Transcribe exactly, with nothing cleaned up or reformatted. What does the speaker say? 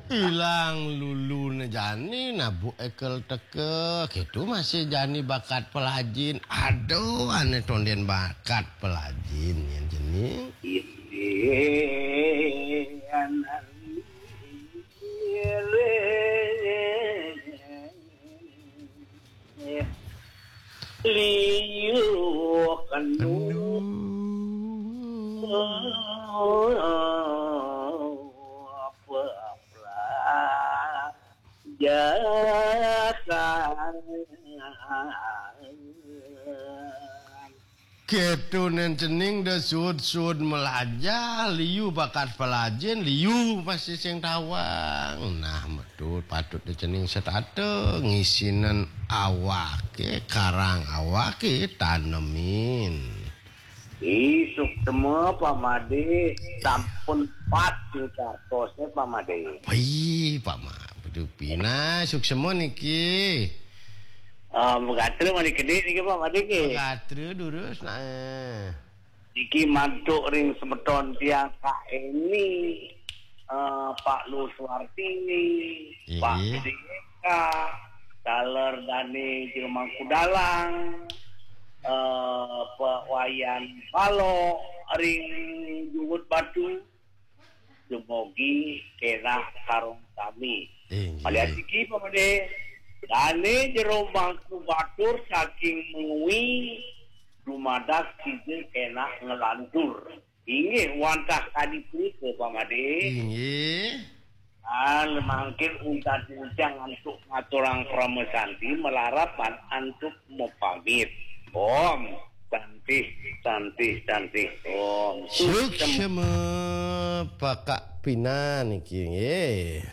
Ilang lulune jani, nabuh ekel teke, gitu masih jani bakat pelajin. Aduh, ane tonden bakat pelajin, ya, jani. Liu kenu. Kenu. Jakan. Ketunen cening de sud-sud melajah, liu bakat pelajin, liu masih sing tawang. Nah, metu patut de cening setata ngisinen awake, karang awake tanemin. Isuk semua Pak Made, sampun pat sing cartosnya Pak Made. Wih, Pak Ma, bedu pina suksema niki. Eh, megatra mani gede niki Pak Made nggih. Megatra durus, nah. Niki mantuk ring semeton tiang Kak Eni, eh, Pak Lu Suartini, Pak Gede Eka, taler dane Jero Mangku Dalang, eh, Pak Wayan Palo ring Jungut Batu. Dumogi kenah sareng sami. Inggih. Malian siki, Pak Made, dane Jero Mangku Batur saking Mengwi dumadak sida kenah nglantur. Inggih, wantah kadi punika, Pak Made. Inggih. Ah, mangkin untat tiang antuk ngaturang parama santi, malarapan antuk mapamit. Om Santi, Santi, Santi. Om Suksema. Pakak pina niki, nggih.